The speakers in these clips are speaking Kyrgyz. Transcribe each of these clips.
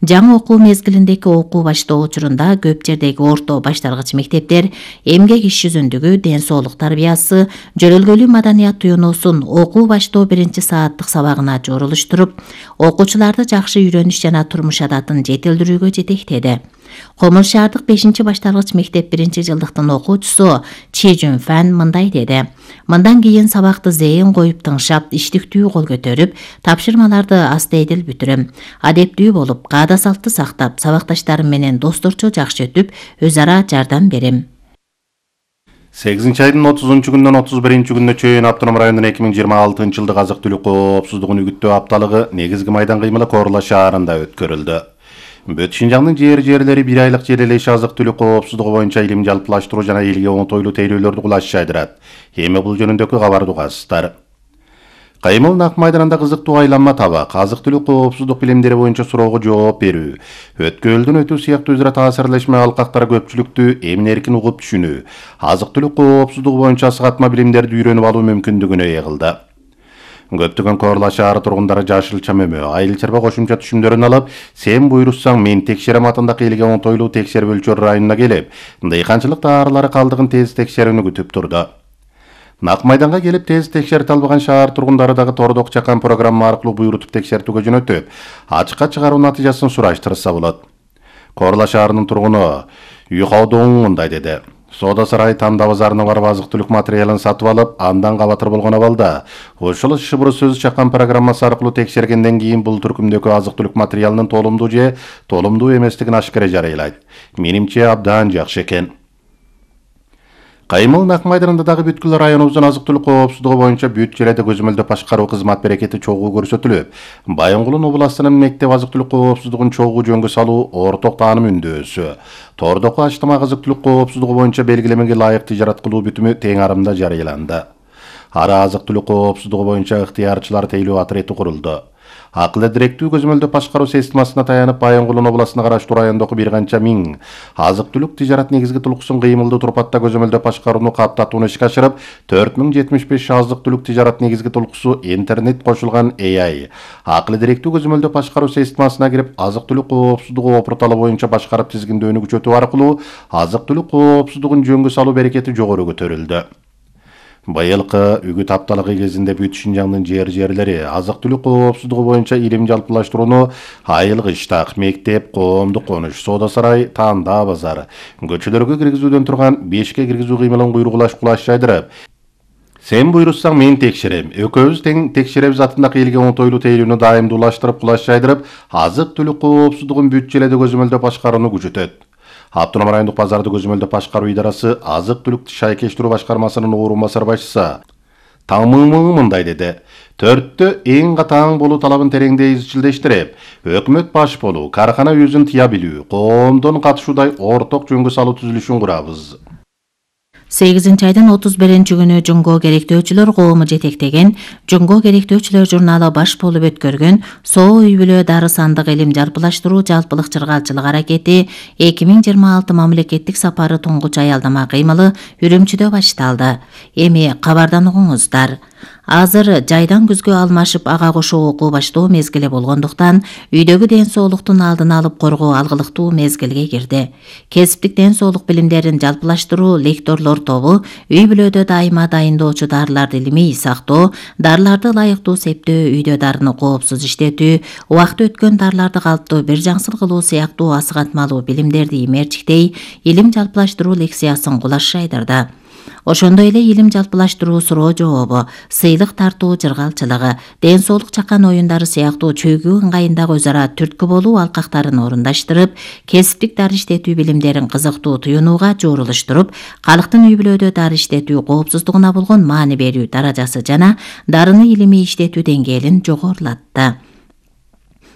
Жаңы окуу мезгилиндеги окуу баштоо учурунда көп жердеги орто башталгыч мектептер эмгек иш жүзүндүгү, ден соолук тарбиясы, жөрөлгөлүү маданият туюнуусун окуу баштоо 1-сааттык сабагына жорулуштуруп, окуучуларды жакшы үйрөнүш жана турмуш адатын жетилдирүүгө жетектеди. Комур шаардык 5-башталгыч мектеп 1-жылдыктын окуучусу Чи Жунфан мындай деди. Мындан кийин сабакты зээн коюп тыңшап, иштиктүү кол көтөрүп, тапшырмаларды астейдил бүтүрөм. Адептүү болуп, каада салтты сактап, сабакташтарым менен досторчо жакшы өтүп, өз ара жардам берем. 8-айдын 30-күндөн 31-күнүнө чейин Автоном районунун 2026-жылдык азык-түлүк коопсуздугун үгүттөө апталыгы негизги майдан кыймылы Корла шаарында өткөрүлдү. Бүт Шинжаңдын жерлери 1 айлык жер элеши азык-түлүк коопсуздугу боюнча илим жалпылаштыруу жана элге оңтойлуу тейлөөлөрдү кулаш жайдырат. Эми бул жөнүндөгү кабарды угасыздар. Кайымыл Нак майданында кызыктуу айланма табак, азык-түлүк коопсуздук билимдери боюнча суроого жооп берүү, өткөлдөн өтүү сыяктуу өзара таасирлешме алкактар көпчүлүктү эмин-эркин угуп түшүнүү, азык-түлүк коопсуздугу боюнча сыгатма билимдерди үйрөнүп алуу мүмкүндүгүнө ээ кылды. Көптөгөн Корла шаары тургундары жашылча мөмө, айыл чарба кошумча түшүмдөрүн алып, сен буйрусаң мен текшерем атындагы элге оңтойлуу текшербөлчөр районуна келип, дыйканчылык таарылары калдыгын тез текшерүүнү күтүп турду. Нак майданга келип тез текшерте албаган шаар тургундары дагы тордок чакан программа аркылуу буйрутуп текшертүүгө жөнөтүп, ачыкка чыгаруу натыйжасын сураштырса болот. Корла шаарынын тургуну Юхаудоң мындай деди. Соода сарай Танда базарына барып азык-түлүк материалын сатып алып, андан кабатыр болгон абалда ошол шыбыр сөз чакан программасы аркылуу текшергенден кийин бул түркүмдөгү азык-түлүк материалынын толумдуу же толумдуу эместигин ашкере жарыйлайт. Менимче абдан жакшы экен. Кайымыл Нак майданында дагы бүткүл районубуздун азык-түлүк коопсуздугу боюнча бүт жерде көзөмөлдөө башкаруу кызмат берекети чогуу көрсөтүлүп, Байынгулун областынын мектеп азык-түлүк коопсуздугун чогуу жөнгө салуу орток тааным үндөөсү. Тордоку Аштамак азык-түлүк коопсуздугу боюнча белгилемеге ылайык тижарат кылуу бүтүмү тең арымда жарыяланды. Ара азык-түлүк коопсуздугу боюнча ыктыярчылар тейлөө отряды курулду. Акылы директүү көзөмөлдөө башкаруу системасына таянып Байынгулун областына караштуу райондогу бир канча миң азык-түлүк тижарат негизги тулуксун кыймылдуу турпатта көзөмөлдөө башкарууну каптатууну ишке ашырып, 4075 азык-түлүк тижарат негизги тулуксу интернет кошулган AI акылы директүү көзөмөлдөө башкаруу системасына кирип, азык-түлүк коопсуздугу опурталы боюнча башкарып тизгиндөөнү күчөтүү аркылуу азык-түлүк коопсуздугун жөнгө салуу берекети жогору көтөрүлдү. Быйылкы үгүт апталыгы кезинде бүт Шинжаңдын жерлери азык-түлүк коопсуздугу боюнча илим жалпылаштырууну айыл кыштак, мектеп, коомдук конуш, соода сарай, Танда базар, көчөлөргө киргизүүдөн турган бешке киргизүү кыймылын кулаш жайдырып, сен буйрусаң мен текшерем, экөөбүз тең текшеребиз атындагы элге оңтойлуу тейлүүнү дайымдуулаштырып, кулаш жайдырып, азык-түлүк коопсуздугун бүт жерде көзөмөлдөө башкарууну күчөтөт. Автоном райондук базарды көзөмөлдөө башкаруу идарасы азык-түлүк шайкештирүү башкармасынын орун басар башчысы Тамымың мындай деди. Төрттө эң катаң болуу талабын тереңдей изчилдештирип, өкмөт баш болуу, каркана өзүн тыя билүү, коомдон катышуудай орток жөнгө салуу түзүлүшүн курабыз. 8-айдын 31-күнү Жунго керектөөчүлөр коому жетектеген Жунго керектөөчүлөр журналы баш болуп өткөргөн Соо үй бүлө дары сандык илим жалпылаштыруу жалпылык чыргалчылык аракети 2026 мамлекеттик сапары туңгуч аялдама кыймылы Үрүмчүдө башталды. Эми кабардан угуңуздар. Азыр жайдан күзгө алмашып ага кошо окуу баштоо мезгили болгондуктан үйдөгү ден соолуктун алдын алып коргоо алгылыктуу мезгилге кирди. Кесиптик ден соолук билимдерин жалпылаштыруу лекторлор тобу үй бүлөдө дайыма дайындоочу дарыларды илимий сактоо, дарыларды ылайыктуу септөө, үйдө дарыны коопсуз иштетүү, убакыты өткөн дарыларды калыптуу бир жаңсыл кылуу сыяктуу асыгатмалуу билимдерди имерчиктей илим жалпылаштыруу лекциясын кулаш жайдырды. Ошондой эле илим жалпылаштыруу суроо жообу, сыйлык тартуу жыргалчылыгы, ден соолук чакан оюндары сыяктуу чөйгүү ыңгайындагы өз ара түрткү болуу алкактарын орундаштырып, кесиптик дары иштетүү билимдерин кызыктуу туюнууга жорулуштуруп, калктын үй бүлөдө дары иштетүү коопсуздугуна болгон маани берүү даражасы жана дарыны илимий иштетүү деңгээлин жогорулатты.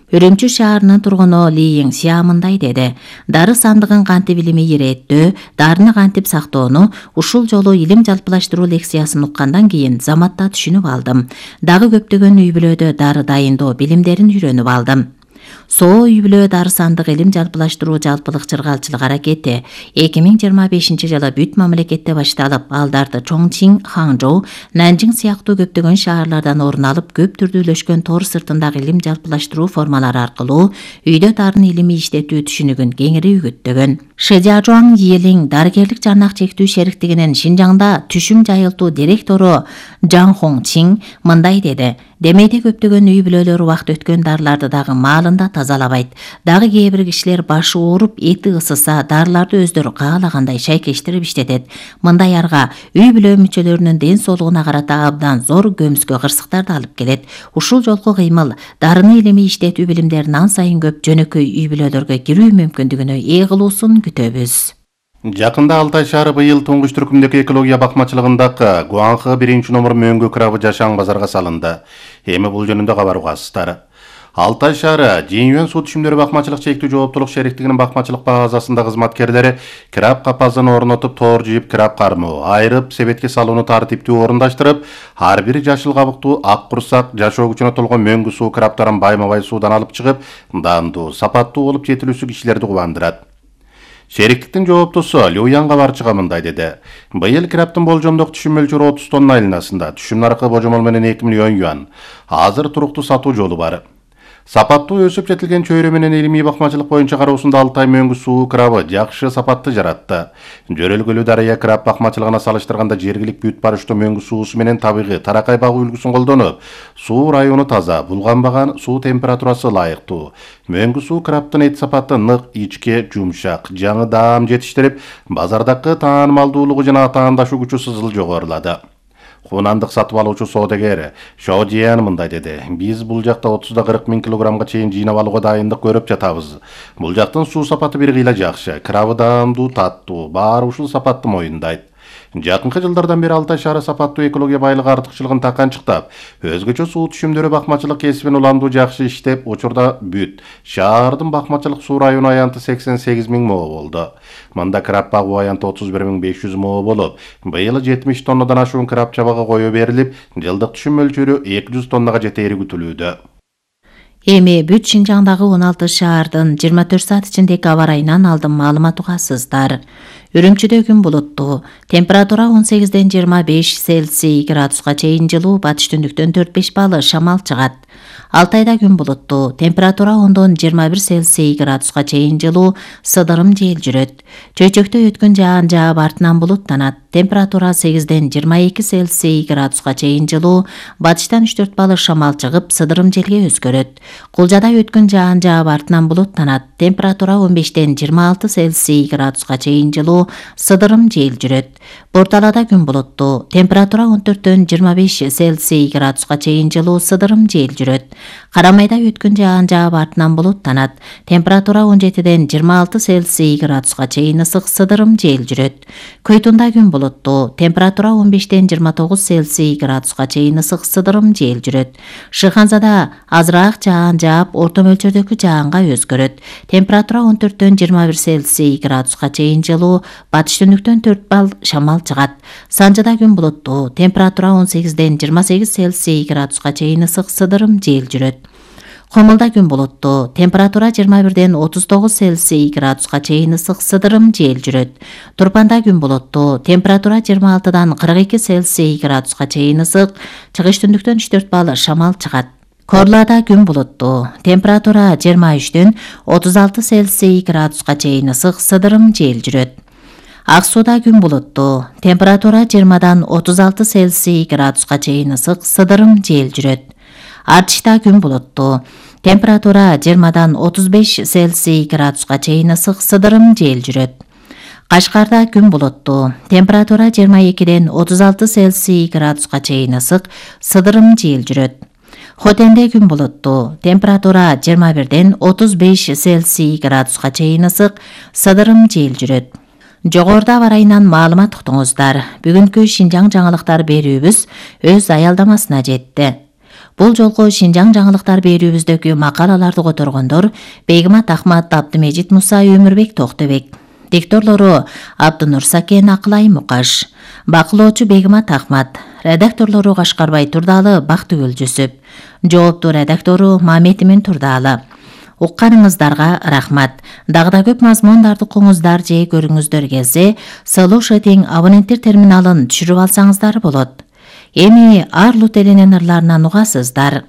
Үрүмчү шаарынын тургуну Ли Еңсия мындай деди. Дары сандыгын кантип илимий иреттөө, дарыны кантип сактоону ушул жолу илим жалпылаштыруу лекциясын уккандан кийин заматта түшүнүп алдым. Дагы көптөгөн үй бүлөдө дары дайындоо билимдерин үйрөнүп алдым. Соо үй-бүлө дары сандык илим жалпылаштыруу жалпылык чыргалчылык аракети 2025-жылы бүт мамлекетте башталып, алдарда Чоңчин, Ханчжоу, Нанжиң сыяктуу көптөгөн шаарлардан орун алып, көп түрдүүлөшкөн тор сыртындагы илим жалпылаштыруу формалары аркылуу үйдө дарын илими иштетүү түшүнүгүн кеңири үгүттөгөн. Шэжажуан Йелиң дарыгерлик жарнак чектүү шериктигинин Шинжаңда түшүм жайылтуу директору Жан Хongчин мындай деди: Демейде көптөгөн үй-бүлөлөр убакыт өткөн дарыларды дагы маалында тазалабайт. Дагы кээ бир кишилер башы ооруп, эти ысыса, дарыларды өздөрү каалагандай шайкештирип иштетет. Мындай арга үй-бүлө мүчөлөрүнүн ден соолугуна карата абдан зор көмүскө кырсыктарды алып келет. Ушул жолку кыймыл дарыны илимий иштетүү билимдерин ан сайын көп жөнөкөй үй-бүлөлөргө кирүү мүмкүндүгүнө ээ кылуусун күтөбүз. Жакында Алтай шаары быйыл туңгуч түркүмдөгү экология бакмачылыгындагы Гуанхы 1-номер мөңгү крабы жашаң базарга салынды. Эми бул жөнүндө кабар угасыздар. Алтай шаары Жийюан суу түшүмдөрү бакмачылык чектүү жооптулук шериктигинин бакмачылык базасында кызматкерлери краб капазын орнотуп, тоор жийип, краб кармоо, айрып, себетке салууну тартиптүү орундаштырып, ар бир жашыл кабыктуу, ак курсак, жашоо күчүнө толгон мөңгү суу крабтарын байма-бай суудан алып чыгып, дандуу, сапаттуу болуп жетилүүсү кишилерди кубандырат. Шериктиктин жооптусу Люянга барчыга мындай деди: Быйыл крабтын болжомдук түшүм мөлчөрү 30 тонна айланасында, түшүм наркы божомол менен 2 миллион юан. Азыр туруктуу сатуу жолу бар. Сапаттуу өсүп жетилген чөйрө менен илимий бакмачылык боюнча кароосунда Алтай мөңгү суу крабы жакшы сапатты жаратты. Жөрөлгөлүү дарыя краб бакмачылыгына салыштырганда жергилик бүт барыштуу мөңгү суусу менен табигый таракай багуу үлгүсүн колдонуп, суу району таза, булганбаган, суу температурасы ылайыктуу. Мөңгү суу крабтын эт сапаты нык, ичке, жумшак, жаңы даам жетиштирип, базардагы таанымалдуулугу жана атаандашуу күчү сызыл жогорулады. Хунандык сатып алуучу соодагер Шо Жиян мындай деди: Биз бул жакта 30-40 миң килограммга чейин жыйнап алууга дайындык көрүп жатабыз. Бул жактын суу сапаты бир кыйла жакшы, крабы даамдуу, таттуу, баары ушул сапатты моюндайт. Жакынкы жылдардан бери Алтай шаары сапаттуу экология байлыгы артыкчылыгын таканчыктап, өзгөчө суу түшүмдөрү бакмачылык кесибин уламдуу жакшы иштеп, учурда бүт шаардын бакмачылык суу району аянты 88 миң moo болду. Мында краб багуу аянты 31 500 moo болуп, быйыл 70 тоннадан ашуун краб чабага кое берилип, жылдык түшүм мөлчөрү 200 тоннага жетери күтүлүүдө. Эми бүт Шинжаңдагы 16 шаардын 24 саат ичиндеги аба ырайынан алдын маалымат угасыздар. Үрүмчүдө күн булуттуу, температура 18-ден 25 Цельсий градуска чейин жылуу, батыш түндүктөн 4-5 балл шамал чыгат. Алтайда күн булуттуу, температура 10-дон 21 Цельсий градуска чейин жылуу, сыдырым жел жүрөт. Чөйчөктө өткөн жаан жаап артынан булуттанат. Температура 8-ден 22 Цельсий градуска чейин жылуу, батыштан 3-4 балл шамал чыгып, сыдырым желге өзгөрөт. Кулжада өткөн жаан жаап артынан булуттанат. Температура 15-ден 26 Цельсий градуска чейин жылуу, сыдырым жел жүрөт. Борталада күн булуттуу, температура 14-дөн 25 Цельсий градуска чейин жылуу, сыдырым жел жүрөт. Карамайда өткөн жаан жаап артынан булуттанат. Температура 17-ден 26 Цельсий градуска чейин ысык, сыдырым жел жүрөт. Көйтунда күн булуттуу, температура 15-ден 29 Цельсий градуска чейин ысык, сыдырым жел жүрөт. Шыханзада азыраак жаан жаап, орто мөлчөрдөгү жаанга өзгөрөт. Температура 14-дөн 21 Цельсий градуска чейин жылуу, батыш түндүктөн 4 балл шамал чыгат. Санжыда күн булуттуу, температура 18-ден 28 Цельсий градуска чейин ысык, сыдырым жел жүрөт. Комулда күн булуттуу, температура 21-ден 39 Цельсий градуска чейин ысык, сыдырым жел жүрөт. Турпанда күн булуттуу, температура 26-дан 42 Цельсий градуска чейин ысык, чыгыш түндүктөн 3-4 балл шамал чыгат. Корлада күн булуттуу, температура 23-дөн 36 Цельсий градуска чейин ысык, сыдырым жел жүрөт. Ак сууда күн булуттуу, температура 20-дан 36 Цельсий градуска чейин ысык, сыдырым жел жүрөт. Артышта күн булуттуу, температура 20-дан 35 Цельсий градуска чейин ысык, сыдырым жел жүрөт. Кашкарда күн булуттуу, температура 22-ден 36 Цельсий градуска чейин ысык, сыдырым жел жүрөт. Хотенде күн булуттуу, температура 21-ден 35 Цельсий градуска чейин ысык, сыдырым жел жүрөт. Жогоруда аба ырайынан маалымат уктуңуздар. Бүгүнкү Шинжаң жаңылыктар берүүбүз өз аялдамасына жетти. Бул жолку Шинжаң жаңылыктар берүүбүздөгү макалаларды которгондор Бегимат Ахмат, Абдымежит Муса, Өмүрбек Токтобек. Дикторлору Абдынур Сакен, Акылай Мукаш. Бакылоочу Бегимат Ахмат. Редакторлору Кашкарбай Турдалы, Бактыгүл Жүсүп. Жооптуу редактору Маметимин Турдалы. Укканыңыздарга рахмат. Дагы да көп мазмундарды угуңуздар же көрүңүздөр келсе, Solution абоненттер терминалын түшүрүп алсаңыздар болот. Эми Арлут элинен ырларынан угасыздар.